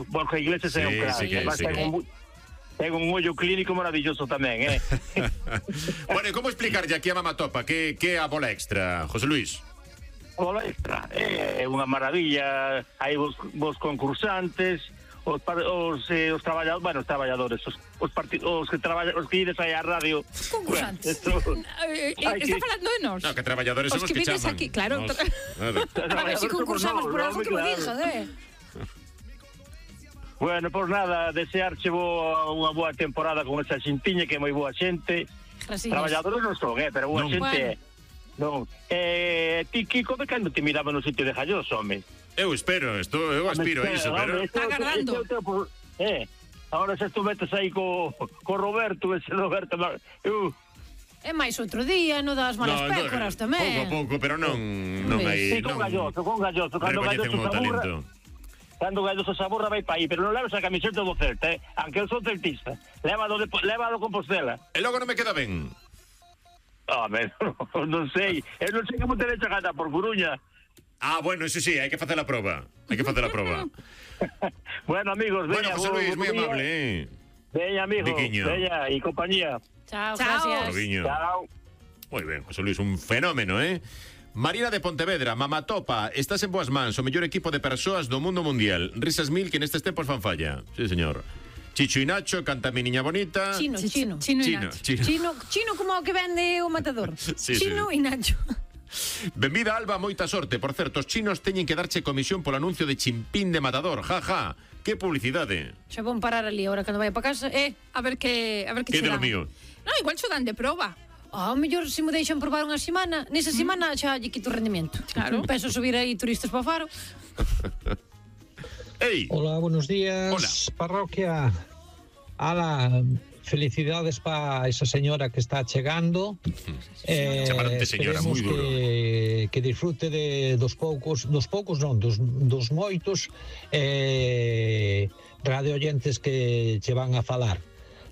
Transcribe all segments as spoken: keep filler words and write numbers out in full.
Borja Iglesias é un crack. Ten un ollo clínico maravilloso tamén, eh? Bueno, e como explicarlle aquí a Mamatopa que que é a bola extra, José Luis? A bola extra é unha maravilla. Hai vos, vos concursantes, os, os, eh, os traballadores, bueno, os traballadores, os, os, part... os que traballan, os que ides aí á radio. Concursantes. Bueno, esto... eh, eh, está falando de nós. No, que traballadores son os, os que, que chaman. aquí, claro. Nos... A ver, si concursamos por algo que me dixas, eh? Bueno, pois nada, desearche boa, unha boa temporada con esa xintiña que é moi boa xente. Gracias. Traballadores non son, eh, pero boa non. xente Bueno. non. Eh, ti, Kiko, de cando te miraba no sitio de Jalloso, home? Eu espero, estou, eu aspiro a iso, pero... Está agarrando. Eh, agora se tú metes aí co, co Roberto, ese Roberto... Uh, É máis outro día, non das malas no, pécoras no, tamén. Pouco a pouco, pero non, non hai... sí, con Galloso, con Galloso. Cando Galloso se aburra, cando Galloso se aburra vai pa aí, pero non leves a camiseta do Celta, eh? Aunque eu sou celtista. Lévalo de, lévalo Compostela. E logo non me queda ben. Home, oh, non sei. Eu non sei como te deixa ganar por Coruña. Ah, bueno, eso sí, hai que facer a proba. Hai que facer a proba. Bueno, amigos, veña. Bueno, José Luis, moi amable, eh. Veña, amigos, Viquiño. veña, e compañía. Chao, Chao. gracias. Chao. Moi ben, José Luis, un fenómeno, eh. Marina de Pontevedra, Mamatopa, estás en boas mans, o mellor equipo de persoas do mundo mundial. Risas mil que nestes tempos fan falla. Sí, señor. Chicho y Nacho, canta mi niña bonita. Chino, chino. Chino, chino, chino. chino, chino como o que vende o matador. Sí, chino sí. e Nacho. Benvida, Alba, moita sorte. Por certo, os chinos teñen que darche comisión polo anuncio de Chimpín de Matador. Ja, ja. Que publicidade. Xa vou parar ali agora cando vai para casa. Eh, A ver que a ver que Que de che lo dan. mío. No, igual cho dan de proba. ao mellor se me deixan probar unha semana, nesa semana xa lle quito o rendimento. Claro. Penso subir aí turistas para o Faro. Ei. Hola, buenos días. Hola. Parroquia. Ala, felicidades para esa señora que está chegando. Eh, Chamaronte señora, moi duro. que, que disfrute de dos poucos, dos poucos non, dos, dos moitos eh, radio oyentes que che van a falar.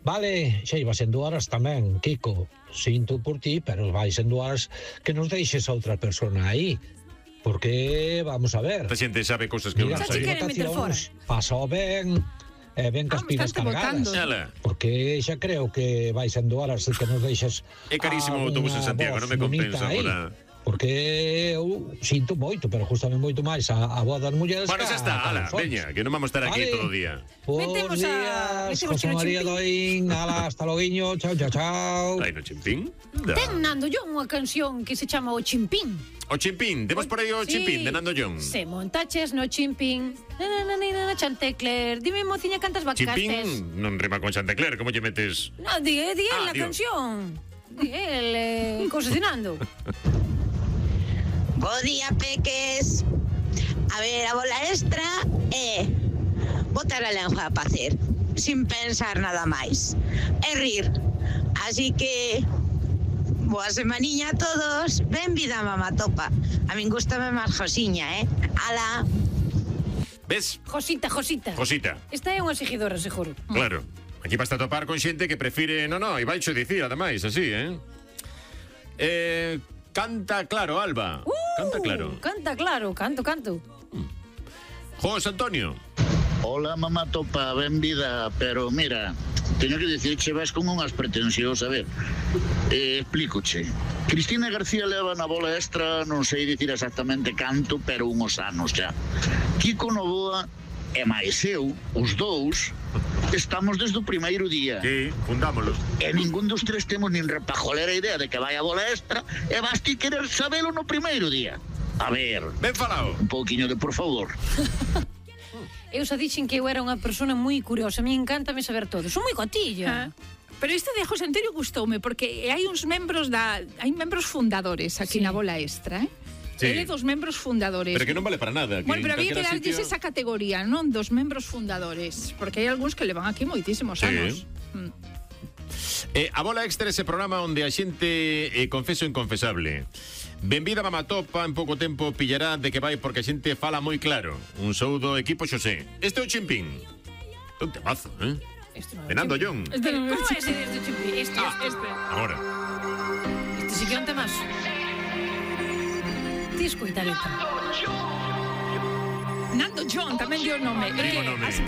Vale, xa iba sendo horas tamén, Kiko. Sinto por ti, pero vai sendo horas que nos deixes a outra persona aí. Porque, vamos a ver... A xente sabe cousas que Mira, non xa che sei. queren meter fora. Pasou ben, eh, ben cas Ah, pilas bastante cargadas. votando. Xala. Porque xa creo que vai sendo horas que nos deixas... É carísimo o autobús en Santiago, non me compensa agora. Porque eu sinto moito, pero justamente moito máis a, a voz das mulleres. Bueno, xa está, ala, veña, que non vamos a estar aquí Vale. todo o día. Bos Metemos a- días, metemos José Chino María Chimpín. Doín, ala, hasta loguiño, chao, chao, chao. Ai, no Chimpín? Da. Ten Nando John unha canción que se chama O Chimpín. O Chimpín, demos por aí o Sí. Chimpín de Nando John. Se montaches no Chimpín. Na, na, na, na, na, Chantecler. Dime, mociña, cantas vacastes. Chimpín non rima con Chantecler, como lle metes? No, di, di él Ah, la Dios. canción. Di él, eh, concesionando. Bo día, peques. A ver, a bola extra é botar a lengua a pacer, sin pensar nada máis, e rir. Así que boa semaniña a todos. Benvida, Mamatopa. A min gustame máis Josiña, eh? Ala. Ves? Josita, Josita. Josita, Esta é unha seguidora, seguro. claro. Aquí vas a topar con xente que prefire... No, no, e vai xo dicir, ademais, así, eh? Eh... Canta claro, Alba. Uh, Canta claro. Canta claro, canto, canto. José Antonio. Hola, Mamatopa, benvida, pero mira, teño que dicirche, vas con unhas pretensións, a ver, eh, explícoche. Cristina García leva na bola extra, non sei dicir exactamente canto, pero unhos anos xa. Kiko Novoa e máis eu, os dous, estamos desde o primeiro día. Sí, fundámolos. E ningún dos tres temos nin repajolera idea de que vai a bola extra e vas ti querer sabelo no primeiro día. A ver, Ben falado. un pouquiño de por favor. Eu xa dixen que eu era unha persona moi curiosa. A mí encántame saber todo. Son moi cotilla. Ah. Pero este de José Antonio gustoume porque hai uns membros da hai membros fundadores aquí Sí. na bola extra, eh? Sí. Ele dos membros fundadores. Pero que non vale para nada. Que Bueno, pero en había que calquera darlles sitio- esa categoría, non? Dos membros fundadores. Porque hai algúns que levan aquí moitísimos Sí. anos. Mm. Eh, a bola extra é ese programa onde a xente eh, confeso o inconfesable. Benvida, Mamatopa, en pouco tempo pillará de que vai porque a xente fala moi claro. Un saúdo, equipo Xosé. Este é o Chimpín. Un temazo, eh? Este non é De Nando Chimpín. John. Este non é ese este Chimpín. Este, Ah, este, este. Agora. Este sí que é un temazo. Ti escoita a letra. Nando John tamén dio o nome. Digo Eh, nome. así te